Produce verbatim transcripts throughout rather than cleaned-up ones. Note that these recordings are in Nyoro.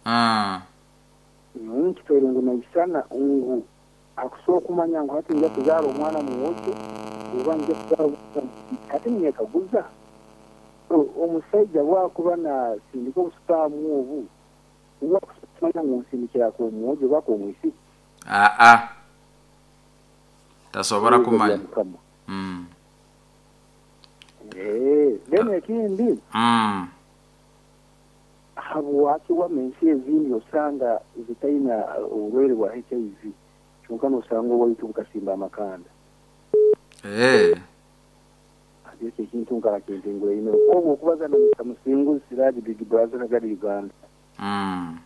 Ah. Nkitwaire ngu naisana ngu akusobola okumanya ngu hati nja kuzaara omwana mwojo oba nja kuzaara omwana muisiki. Hati ninyekaguza omusaija bwakuba nasindika obusipaamu obu uba kumanya ngu nsindikira ak'omwojo oba ak'omwisiki? Aa, tasobora kumanya. Mukama. Mm. Eh, then ekindi, Mm. habwaki wama ensi ezindi osanga zitaina oburwaire bwa H I V, kyonka nosanga owaitu bukasimba amakanda? Eh. Ati ekyo ekintu nkaba kintengura ino. Obwo okubaza na Mister Musinguzi Siraji, Big Brother Kagadi, Uganda. Mm.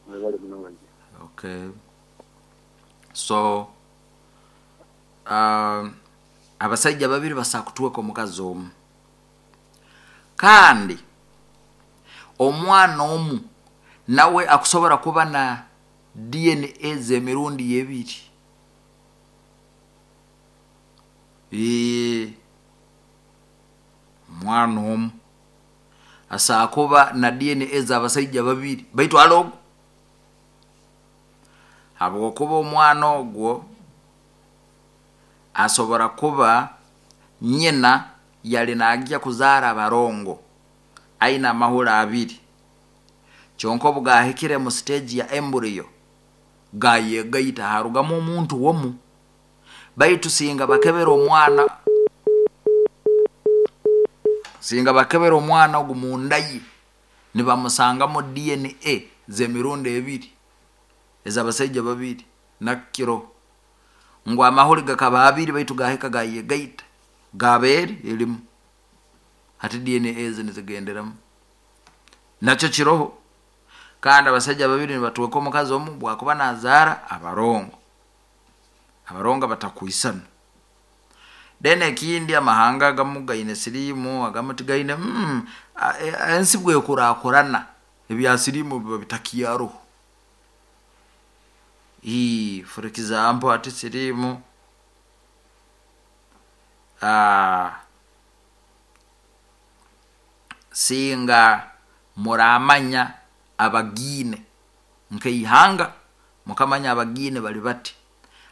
Mwebale muno. Okay, so um, abasajja babiri basaa kutuweka omukazi omu, kandi omwana omu nawe akusobora kuba na D N A z'emirundi ebiri. Ee, omwana omu asaa kuba na D N A z'abasajja babiri, baitu alogo habwokuba omwana ogwo asobora kuba nyina yali nagya kuzaara abarongo aine amahuri abiri, kyonka obu gahikire mu stage ya embryo gayegaita harugamu omuntu womu. Baitu singa bakebera omwana, singa bakebera omwana ogu munda ye nibamusangamu D N A z'emirundi ebiri ez'abasajja babiri, nakiro ngu amahuri gakaba abiri baitu gahika gayegaita gaba eri erimu, hati D N A ezi nizigenderamu. Nakyo kiroho. Kandi abasajja babiri nibatweka omukazi omu bwakuba nazaara abarongo, abarongo batakwisana. Then ekindi, amahanga agamu gaine siriimu, agamu tigaine. mm, a- e- ensi bwekurakurana ebya siriimu biba bitakyaroho. Ii, for example, ati siriimu, ah, singa muramanya abagiine nkeihanga, mukamanya abagiine bali bati,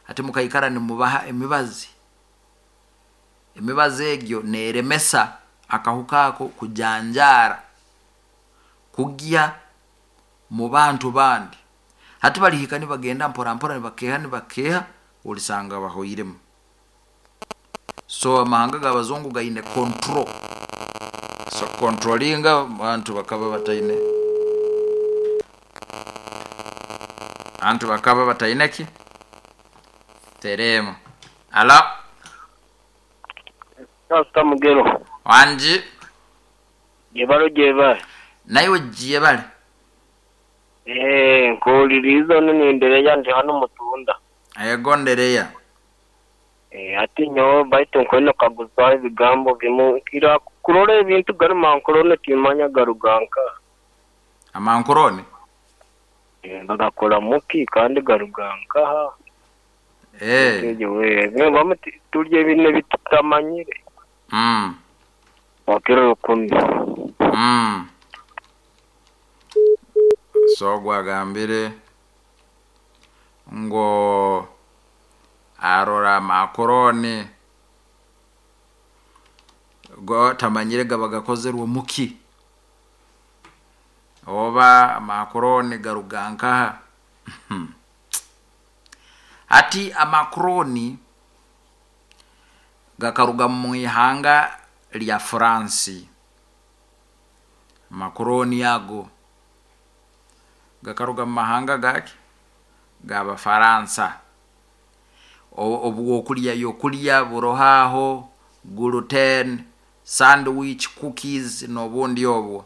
ati mukaikara nimubaha emibazi, emibazi egyo neremesa akahuka ako kujanjaara kugya mu bantu bandi. Hati balihika nibagenda mpora mpora, nibakeha nibakeha, olisanga bahoiremu. So amahanga g'abazungu gaine control, so controllinga bantu bakaba bataine, antu bakaba bataine ki teremu. Alo. Pastor Mugero. Wanji. Jebalo jebale. Naiwe jebale. Eh, nkuwuliriza ono nendereya ndi hano mutunda. Ego, ndereya. Eh, ati nyowe baitu nkwenda kaguzaho ebigambo bimu nkira kurora ebintu gari mankorone, timanya garuganka. Amankorone? Eh, bagakora muki kandi garugankaha? Eh. Bamu turya ebintu ebitutamanyire. mm. Wakiro rukumi. mm. so gwagambire ngo arora makoroni go tamanyire gaba gakozerwe muki oba amakoroni garuga nkaha. Ati amakoroni gakaruga mu ihanga lya Faransi. Makoroni ago gakaruga mu mahanga gaki g'Abafaransa. Obwokulya yokulya burohaho gluten sandwich, cookies n'obundi obwo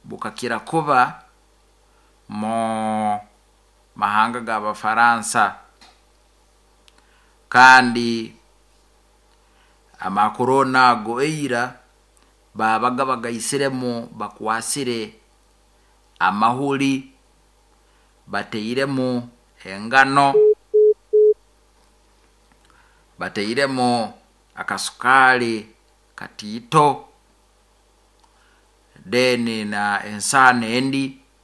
bukakira kuba mu mahanga g'Abafaransa. Kandi amakoroni ago eira babaga bagaisiremu, bakwasire amahuri, bateiremu engano, bateiremu akasukaali katiito, then na ensaano endi.